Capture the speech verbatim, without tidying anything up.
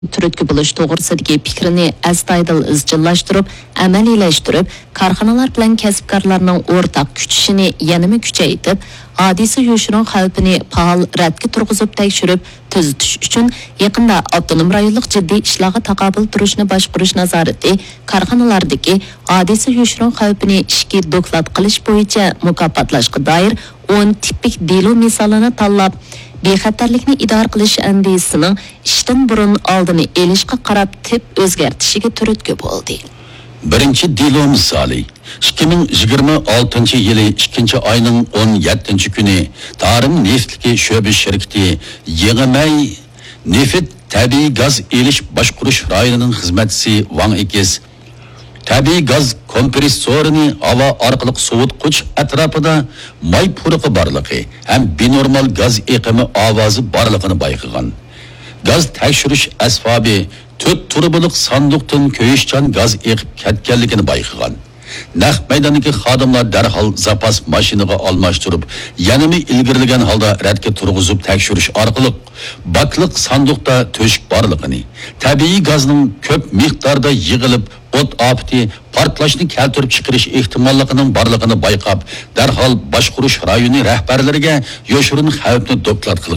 تۈرتكە بولۇش توغرىسىدىكى پىكرىنى ئەستايىدىل ئىزچىللاشتۇرۇپ، ئەمەلىيلەشتۈرۈپ، كارخانىلار بىلەن كەسىپكارلارنىڭ ئورتاق كۈچىشىنى يەنىمۇ كۈچەيتىپ، ھادىسە يوشۇرۇن خەۋپىنى پائال رەتكە تۇرغۇزۇپ تەكشۈرۈپ تۈزىتىش ئۈچۈن، يېقىندا ئاپتونوم رايونلۇق جىددىي ئىشلارغا تاقابىل تۇرۇشنى باشقۇرۇش نازارىتى كارخانىلاردىكى ھادىسە يوشۇرۇن خەۋپىنى ئىچكى دوكلات قىلىش بويىچە مۇكاپاتلاشقا دائىر ئون تىپىك دېلو مىسالىنى تاللاپ، بىخەتەرلىكنى ئىدارە قىلىش ئەندىزىسىنىڭ ئىشتىن بۇرۇن ئالدىنى ئېلىشقا قاراپ تىپ ئۆزگەرتىشىگە تۈرتكە بولدى. بىرىنچى دېلو مىسالى، ئىككى مىڭ يىگىرمە ئالتىنچى يىلى ئىككىنچى ئاينىڭ ئون يەتتىنچى كۈنى تارىم نېفىتلىكى شۆبە شىركىتى يېڭىمەي نېفىت تەبىئىي گاز ئېلىش باشقۇرۇش رايونىنىڭ خىزمەتچىسى ۋاڭ ئېكىس تەبىئىي گاز كومپرېسسورىنى ھاۋا ئارقىلىق سوۋۇتقۇچ ئەتراپىدا ماي پۇرىقى بارلىقى ھەم بىنورمال گاز ئېقىمى ئاۋازى بارلىقىنى بايقىغان. گاز تەكشۈرۈش ئەسۋابى تۆت تۇرۇبىلىق ساندۇقتىن كۆيۈشچان گاز ئېقىپ كەتكەنلىكىنى بايقىغان. نەق مەيداندىكى خادىملار دەرھال زاپاس ماشىنىغا ئالماشتۇرۇپ، يەنىمۇ ئىلگىرىلىگەن ھالدا رەتكە تۇرغۇزۇپ تەكشۈرۈش ئارقىلىق، باكلىق ساندۇقتا تۆشۈك بارلىقىنى، تەبىئىي گازنىڭ كۆپ مىقداردا يىغىلىپ، ئوت ئاپىتى، پارتلاشنى كەلتۈرۈپ چىقىرىش ئېھتىماللىقىنىڭ بارلىقىنى بايقاپ، دەرھال باشقۇرۇش رايونى رەھبەرلىرىگە يوشۇرۇن خەۋپنى دوكلات قىلغان.